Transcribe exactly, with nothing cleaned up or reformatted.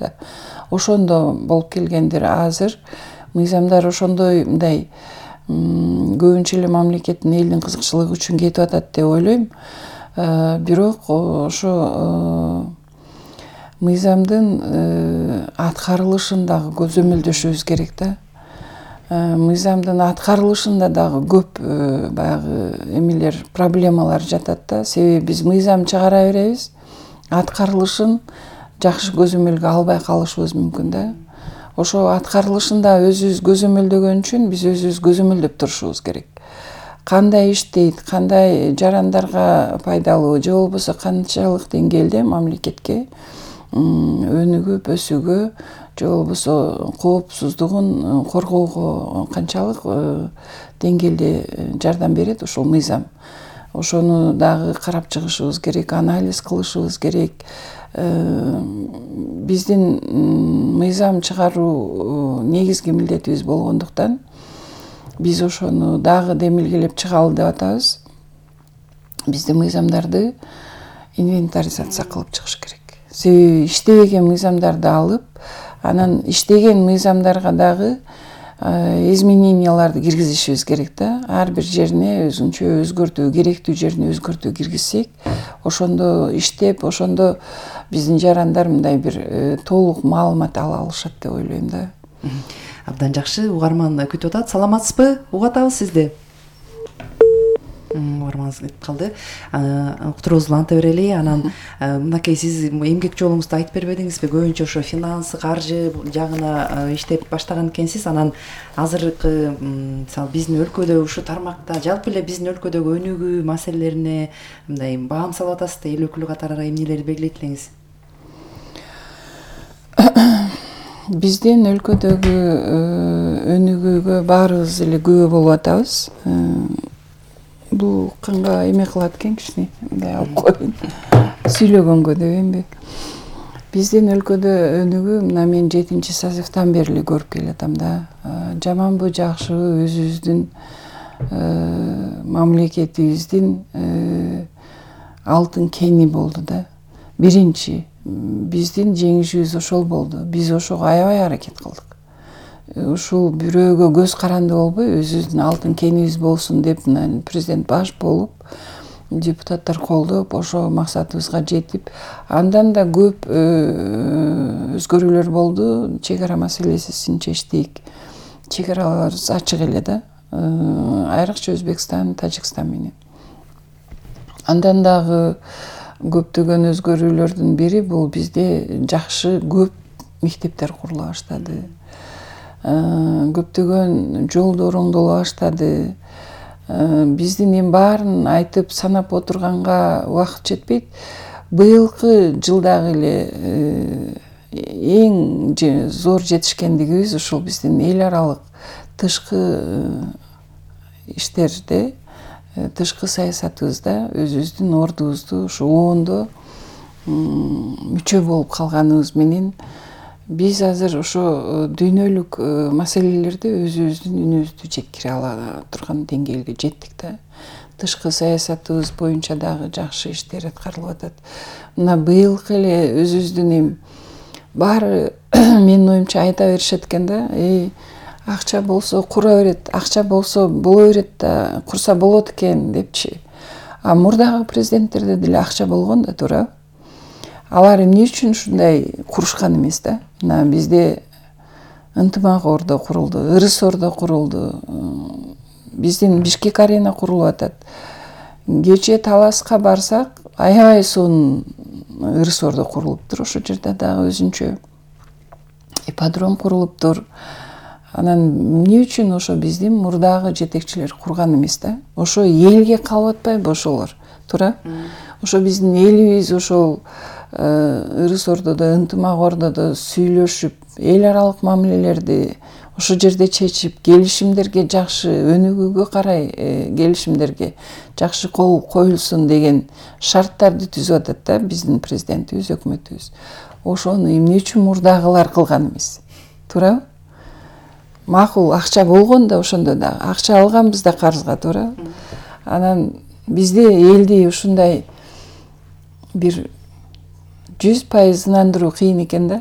да. Ошондо болуп келгендир. Азыр мыйзамдар ошондой мындай көбүнчө эле мамлекеттин элдин кызыкчылыгы үчүн кетип атат деп ойлойм. Бирок ошо мыйзамдын аткарылышын дагы көзөмөлдөшүбүз керек да. Мыйзамдын аткарылышында дагы көп баягы эмелер, проблемалар жатат да. Себеби биз мыйзам чыгара беребиз, аткарылышын жакшы көзөмөлгө албай калышыбыз мүмкүн да. Ошо аткарылышында өзүбүз көзөмөлдөгөн үчүн биз өзүбүз көзөмөлдөп турушубуз керек. Кандай иштейт, кандай жарандарга пайдалуу, же болбосо канчалык деңгээлде мамлекетке өнүгүп, өсүүгө, же болбосо коопсуздугун коргоого канчалык деңгээлде жардам берет ошол мыйзам. Ошону дагы карап чыгышыбыз керек, анализ кылышыбыз керек. Биздин мыйзам чыгаруу негизги милдетибиз болгондуктан биз ошону дагы демилгелеп чыгалы деп атабыз. Биздин мыйзамдарды инвентаризация кылып чыгыш керек. Себеби иштебеген мыйзамдарды алып, анан иштеген мыйзамдарга дагы измененияларды киргизишибиз керек да. Ар бир жерине өзүнчө өзгөртүү, керектүү жерине өзгөртүү киргизсек, ошондо иштеп, ошондо биздин жарандар мындай бир толук маалымат ала алышат деп ойлойм да. Абдан жакшы, угарман күтүп атат. Саламатсызбы? Угуп атабыз сизди. Угарманыбыз кетип калды. Уктуруубузду уланта берели. Анан мынакей сиз эмгек жолуңузду айтып бербедиңизби? Көбүнчө ошо финанс, каржы жагына иштеп баштаган экенсиз. Анан азыркы мисалы биздин өлкөдө ушу тармакта жалпы эле биздин өлкөдөгү өнүгүү маселелерине мындай баам салып атасыз да, эл өкүлү катары эмнелерди белгилейт элеңиз? Биздин өлкөдөгү өнүгүүгө баарыбыз эле күбө болуп атабыз. Бул канга эме кылат экен кичине, мындай алып коеюн. Сүйлөгөнгө дебейинби? Биздин өлкөдө өнүгүү мына мен жетинчи созывдан бери эле көрүп келатам да. Жаманбы, жакшыбы өзүбүздүн мамлекетибиздин алтын кени болду да. Биринчи биздин жеңишибиз ошол болду. Биз ошого аябай аракет кылдык. Ушул бирөөгө көз каранды болбой, өзүбүздүн алтын кенибиз болсун деп президент баш болуп, депутаттар колдоп, ошо максатыбызга жетип, андан да көп өзгөрүүлөр болду. Чек ара маселесин чечтик. Чек араларыбыз ачык эле да. Айрыкча Өзбекстан, Тажикстан менен. Андан дагы көптөгөн өзгөрүүлөрдүн бири бул бизде жакшы көп мектептер курула баштады. Көптөгөн жолдор оңдоло баштады. Биздин эми баарын айтып санап отурганга убакыт жетпейт. Быйылкы жылдагы эле эң зор жетишкендигибиз ушул биздин эл аралык тышкы иштерде, тышкы саясатыбызда өзүбүздүн ордубузду ушу оондо мүчө болуп калганыбыз менен биз азыр ошо дүйнөлүк маселелерде өзүбүздүн үнүбүздү жеткире ала турган деңгээлге жеттик да. Тышкы саясатыбыз боюнча дагы жакшы иштер аткарылып атат. Мына быйылкы эле өзүбүздүн эми баары менин оюмча айта беришет экен да. Эй, акча болсо кура берет, акча болсо боло берет да, курса болот экен депчи. А мурдагы президенттерде деле акча болгон да, туура. Алар эмне үчүн ушундай курушкан эмес да? Мына бизде ынтымак ордо курулду, ырыс ордо курулду. Биздин Бишкек арена курулуп атат. Кечээ Таласка барсак, аябай сонун ырыс ордо курулуптур. Ошол жерде дагы өзүнчө ипподром курулуптур. Анан эмне үчүн ошо биздин мурдагы жетекчилер курган эмес да? Ошо элге калып атпайбы ошолор, туура? Ошо биздин элибиз ошол ырыс ордодо, ынтымак ордодо сүйлөшүп, эл аралык мамилелерди ошол жерде чечип, келишимдерге жакшы өнүгүүгө карай келишимдерге жакшы кол коюлсун деген шарттарды түзүп атат да биздин президентибиз, өкмөтүбүз. Ошону эмне үчүн мурдагылар кылган эмес? Туура? Макул, акча болгон да ошондо да. Акча алганбыз да карызга, туура? Анан бизде элди ушундай бир жүз пайыз ынандыруу кыйын экен да.